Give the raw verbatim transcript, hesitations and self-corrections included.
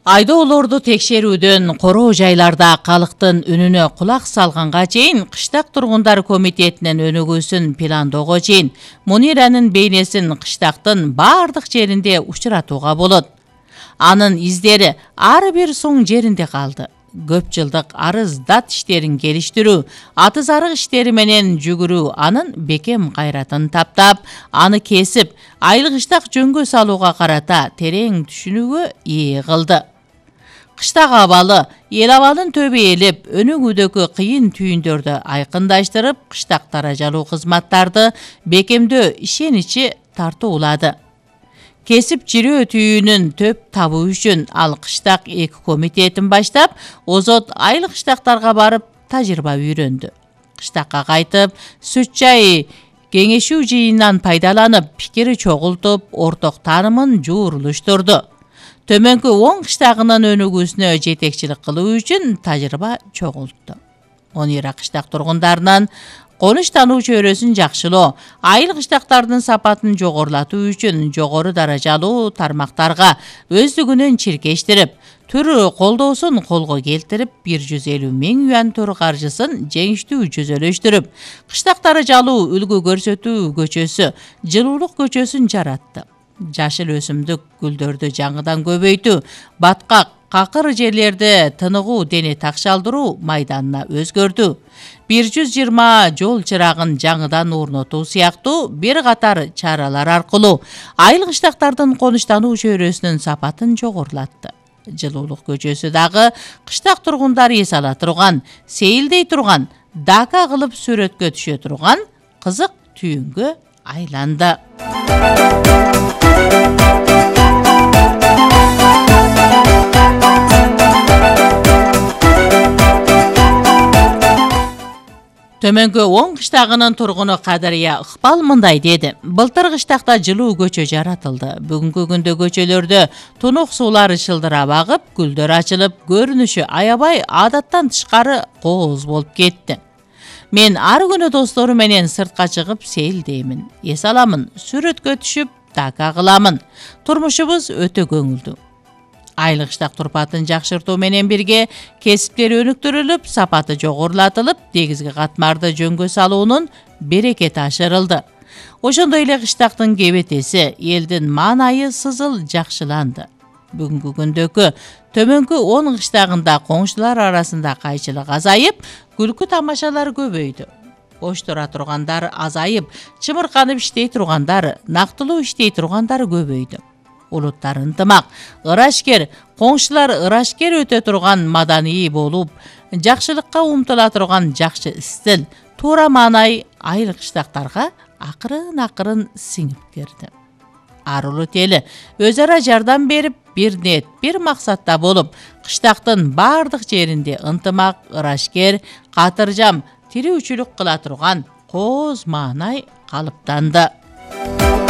Айдоолорду текшерүүдөн короо жайларда калктын үнүнө кулак салганга чейин кыштак тургундар комитетинин өнүгүүсүн пландоого чейин Муниранын бейнесин кыштактын баардык жеринде учуратууга болот. Анын издери ар бир соң жеринде калды. Көп жылдык арыз дат иштерин келиштирүү, аты зарык иштери менен жүгүрүү анын бекем кайратын таптап, аны кесип, айыл-кыштак жөнгө салууга карата терең түшүнүүгө ээ кылды. Кыштак абалы, эл абалын төбө элеп, өнүгүүдөгү кыйын түйүндөрдү айкындаштырып, кыштак таражалуу кызматтарды бекемдөө ишеничи тартуулады. Кесип жирөө түйүүнүн төп табуу үчүн ал кыштак эки комитетин баштап, озот айыл кыштактарга барып тажрыйба үйрөндү. Кыштакка кайтып, сүт чай кеңешүү жыйынынан пайдаланып, пикири чогултуп, орток таанымын жуурулуштурду. Төмөнкү он кыштагынын өнүгүүсүнө жетекчилик кылуу үчүн тажрыйба чогултту. Монира кыштак тургундарынын конуштануу чөйрөсүн жакшылоо, айыл кыштактардын сапатын жогорулатуу үчүн жогору даражалуу тармактарга өздүгүнөн чиркештирип, түр колдоосун колго келтирип, бир жүз элүү миң юан түр каржысын жеңиштүү жүзөлөштүрүп, кыштак даражалуу үлгү көрсөтүү көчөсү, жылуулук көчөсүн жаратты. Жашыл өсүмдүк гүлдөрдү жаңыдан көбөйтүү, баткак, какыр жерлерди тыныгуу дене такшалдыруу майданына өзгөртүү, бир жүз жыйырма жол чырагын жаңыдан орнотуу сыяктуу бир катар чаралар аркылуу айыл кыштактардын конуштануу чөйрөсүнүн сапатын жогорулатты. Жылуулук көчөсү дагы кыштак тургундар эс ала турган, сейилдей турган, дака кылып сүрөткө түшө турган кызык түйүнгө айланды. Төмөнкү он кыштагынын тургуну Кадырия Ыкбал мындай деди. Былтыр кыштакта жылуу көчө жаратылды. Бүгүнкү күндө көчөлөрдө тунук суулары шылдырап агып, гүлдөр ачылып, көрүнүшү аябай адаттан тышкары кооз болуп кетти. Мен ар күнү достору менен сыртка чыгып сейилдеймин, эс аламын, сүрөткө түшүп, дака кыламын. Турмушубуз өтө көңүлдүү. Айыл кыштак турпатын жакшыртуу менен бирге кесиптери өнүктүрүлүп, сапаты жогорулатылып, дегизги катмарды жөнгө салуунун берекети ашырылды. Ошондой эле кыштактын кебетеси, элдин маанайы сызыл жакшыланды. Бүгүнкү күндөгү төмөнкү он кыштагында коңшулар арасында кайчылык азайып, күлкү тамашалар көбөйдү. Бош тура тургандар азайып, чымырканып иштей тургандар, нактылуу иштей тургандар көбөйдү. Улуттар ынтымак, ырашкер, коңшулар ырашкер өтө турган, маданий болуп, жакшылыкка умтула турган жакшы стил, туура маанай айыл кыштактарга акырын-акырын сиңип кирди. Ар улут эли өз ара жардам берип, бир нет, бир максатта болуп, кыштактын баардык жеринде ынтымак, ырашкер, катыржам, тирүүчүлүк кыла турган кооз маанай калыптанды.